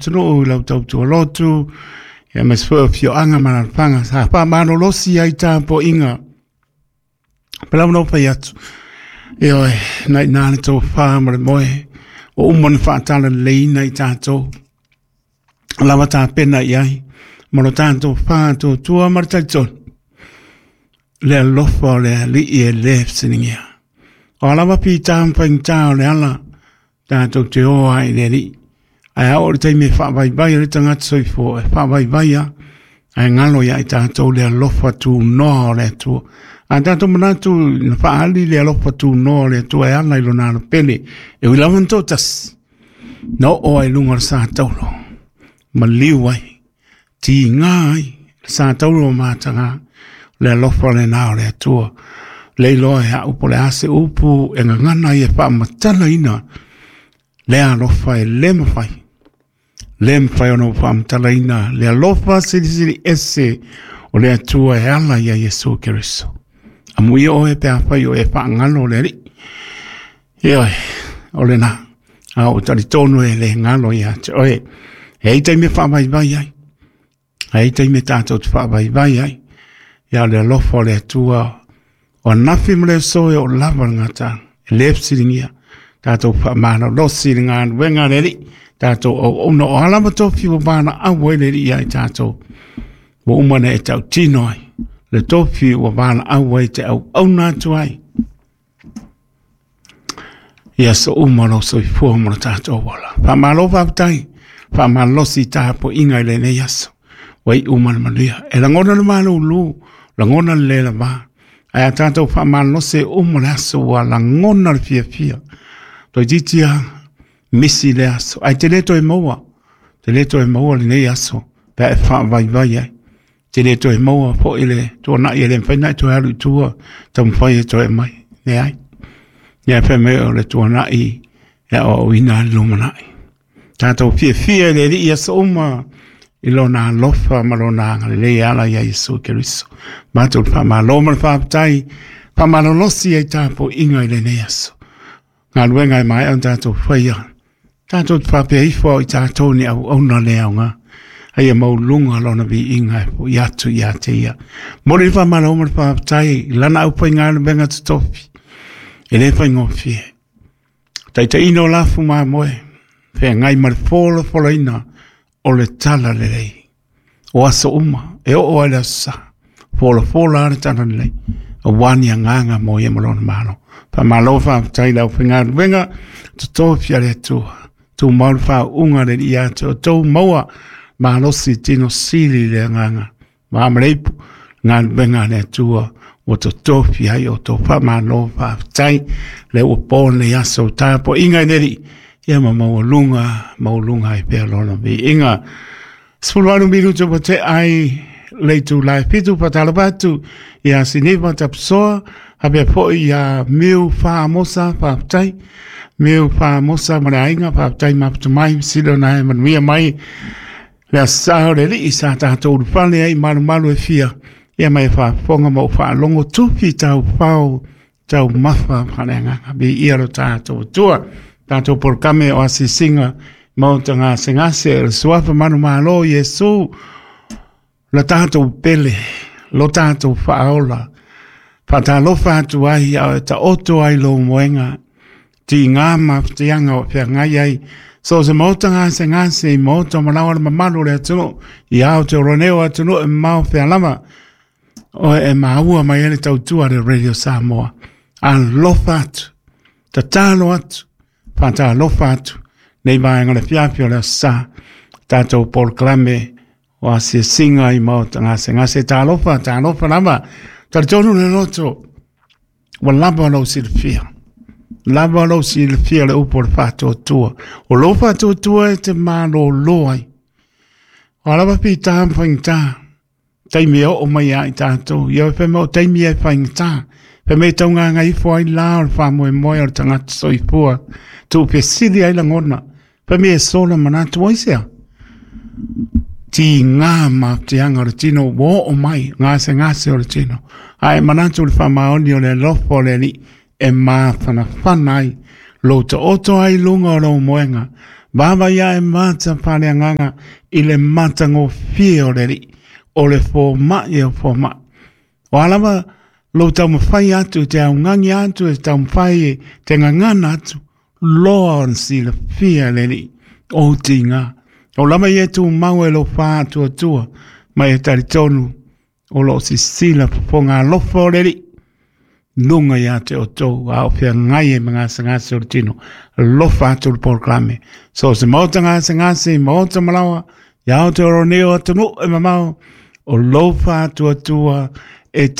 atunuu i lau tautua lotu, ia aemaise foi o afioaga ma alaalafaga sa faamalolosi ai tapuaiga. Pei lava ona ou fai atu, ioe, na i ina le tofa ma le moe, ua uma ona faatalaleiina i tatou, lava tapena i ai, ma lo tatou faatuatua ma le talitonu, le alofa o le Alii e le fesiligia. O a lava fita ma faigata o le ala, tatou te o ai i le Alii. Ae a oo i le taimi e faavaivai ai le tagata soifua, e faavaivai lava, ae galo ia i tatou le alofa tunoa o le Atua. A tatou manatu na faaali le alofa tunoa o le Atua e ala i lona alo pele, e ui lava ina toatasi, na oo ai i luga o le sa taulo, maliu ai, tiga ai le sa taulo o mataga, le alofa lena o le Atua. Le iloa e au po o le a se upu e gagana ai e faamatalaina le alofa e le mafai, le mafai ona ou faamatalaina le alofa silisili ese o le Atua e ala ia Iesu Keriso. Amuia oe pe afai o e faagalo le Alii. Ioe, o lena. A o talitonu e le galo ia te oe. E ai taimi e faavaivai ai. E ai taimi e tatou te faavaivai ai. Ia o le alofa o le Atua, o anafi ma le aso e oo lava le gataga, e le fesiligia. Tatou faamalolosi i le galuega a le Alii, tatou auauna o a lava tofi ua valaau ai le Alii ia i tatou, ua uma ona e tautino ai le tofi ua valaau ai te auauna atu ai. I aso uma o lou soifua ma lo tatou ola. Faamalo faafetai, faamalolosi i tapuaiga i lenei aso. Ua iu ma le manuia. E lagona le malulu, lagona le le lava. Ae a tatou faamalolosi e uma le aso ua lagona le fiafia. Toeitiiti lava misi le aso, ae te le toe maua, te le toe maua lenei aso pe a e faavaivai ai. Te le toe maua foi le tuanai e le mafai ona e toe alu i tua, taumafai e toe aumai. Leai. Ia fai mai o le tuanai e aoaoina ai le lumanai. Tatou fiafia i le Alii i aso uma i lona alofa ma lona agalelei e ala ia Iesu Keriso. Matou le faamalo ma le faafetai, faamalolosi ai tapuaiga i lenei aso. Galuega e maea ona tatou faia, tatou te faapea ifo o i tatou ni auauna le aoga, a ia maualuga lona viiga e fo'i atu ia te ia. Momoli le faamalo ma le faafetai i lana aufaigaluega totofi, e le faigofie. Taitaiina o lafu mamoe, feagai ma le folafolaina o le talalelei. O aso uma, e oo ai le aso Sa, folafola lava le talalelei, aua ni agaga mo ia ma lona Malo. Faamalo faafetai i le aufaigaluega, totofi a le Atua, tumau le faauuga a le Alii ia te outou, maua malosi tino sili i le agaga. Ma ma le ipu, galuega a le Atua ua totofi ai outou. Faamalo faafetai, lea ua po lenei aso, tapuaiga i le Alii, ia ma maualuga, maualuga ai pea lona viiga. 18 minuta ua tea ai le itula e 7, faatalofa atu ia Siniva Tapusoa, faapea foi ia Miu Faamosa, faafetai. Miu Faamosa ma le aiga, faafetai mafuta mai, sili ona e manuia mai le aso Sa o le Alii sa tatou ulufale ai i malumalu e fia, ia ma e faafofoga ma ou faalogo tufi taufao taumafa faaleagaga. Viia lo tatou Atua. Tatou polokame o asiasiga maota gasegase o le suafa manumalo o Iesu, lo tatou pele, lo tatou faaola. Faatalofa atu ai a o taoto ai lou moega, tiga ma fatiaga o feagai ai. So se maota gasegase i maota malaoa le mamalu o le atunuu, i Aotearoa nei o atunuu e mamao fea lava, oe e maua mai ai le tautua a le Radio Samoa. Alofa atu, tatalo atu, faatalofa atu, nei vaega o le afiafi o le aso Sa, tatou polokalame o asiasiga i maota gasegase. Talofa, talofa lava, talitonu le loto, ua lava lou silafia. Lava lou silafia le upu o le faatuatua. O lou faatuatua e te malolo ai. O a lava fita ma faigata, taimi e oo mai ia i tatou. Ia fai mai o taimi e faigata. Fai mai e taugāgaifo ai la o le faamoemoe o le tagata soifua. Tuufesili ai lagona. Fai mai e sola manatu ai sea. Tiga mafatiaga o le tino ua oo mai, gasegase o le tino. Ae manatu le faamaoni o le alofa o le Alii e mafanafana ai lou taoto ai i luga o lou moega. Vaavaai ae mata faaleagaga i le matagofie o le Alii, o le fomai o fomai. O a lava lou taumafai atu e te augagi atu e taumafai e te gagana atu, loa ona silafia e le Alii ou tiga. O lava ia e tumau e lou faatuatua, ma e talitonu o lo o sisila fofoga alofa o le Alii luga ia te outou, a o feagai ai ma gasegase o le tino. Alofa atu le polokalame. So se maota gasegase, maota malaoa, ia o te oro nei o atunuu e mamao, o lou faatuatua e te